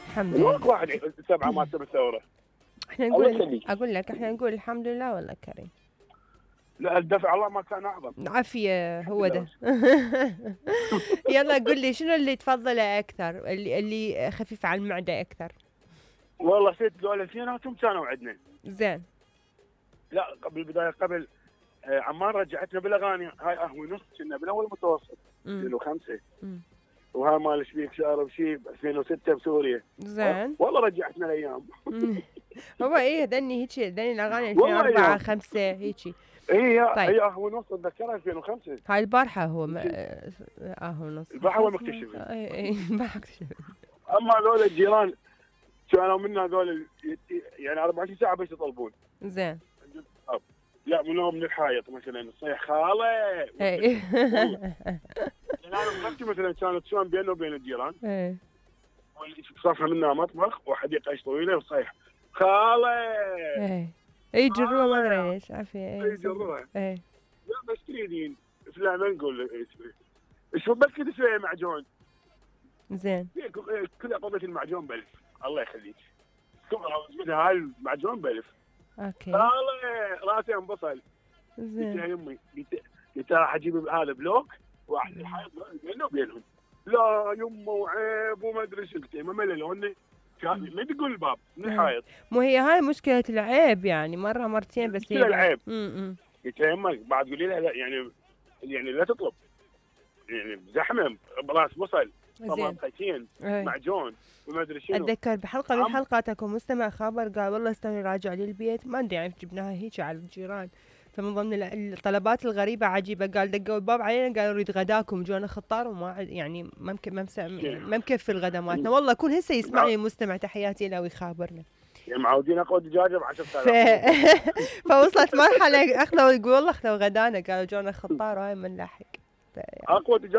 الحمد من وين لله. واحد 7 مات بالثوره؟ احنا الله نقول، يخليك. اقول لك احنا نقول الحمد لله والله كريم. لا الدفع الله ما كان اعظم. عافية هو ده. يلا قل لي شنو اللي تفضله اكثر، اللي خفيف على المعدة اكثر؟ والله ست ذول اثنيناتهم كانوا عندنا. زين. لا قبل البدايه قبل عمان رجعتنا بالاغاني هاي قهوه نص كنا بالاول متوسط 2005 وهاي مال شبيك شارب شيب 2006 بسوريا. زين. والله رجعتنا الايام. هو ايه هذني هيك هذني الاغاني والله 2004 أيام. 5 هيك. هي طيب. هي قهوه نص اتذكرها 2005. هاي البارحة هو قهوة نص. البارحة هو مكتشف. اي البارحة مكتشف. اما هذول الجيران كانوا منا هذول يعني 24 ساعه بس يطلبون. زين. لا من الحايط مثلا الصيح خاله. اي. انا مثلا كانت شلون بينه وبين الجيران. اي. صفحه منها مطبخ وحديقه ايش طويله وصيح خاله. اي. يجروها ما ادري ليش عافية. اي يجروها. اي. لا بس تريدين فلان ما نقول شو بس كذا شويه معجون. زين. كذا قضيه المعجون ب1000 الله يخليك. هاي المعجون ب1000. اوكي. خاله راسي انبصل. زين. يا يمي قلت راح اجيب هذا بلوك واحد الحائط بينه وبينهم. لا يمه وعيب وما ادري شو. قلت ما مللوني ما تقول الباب من الحائط. مو هي هاي مشكلة العيب يعني مرة مرتين بس هي العيب. قلت يا يمه بعد قولي لها لا يعني لا تطلب يعني زحمه براس بصل طماطتين معجون وما ادري شنو. اتذكر بحلقة من حلقاتكم مستمع خبر قال والله استني راجع لي البيت ما ادري يعني جبناها هيك على الجيران. فمن ضمن الطلبات الغريبة عجيبة قال دقوا الباب علينا قالوا نريد غداكم جونا خطار وما يعني ما مكفي الغدا مالتنا. والله كل هسه يسمعني المستمع تحياتي له ويخابرنا. يعني معودين اقوى دجاجة ب10,000. فوصلت مرحلة اخذوا يقول والله اخذوا غدانا قالوا جونا خطار وهاي من لاحق. اقوى دجاجة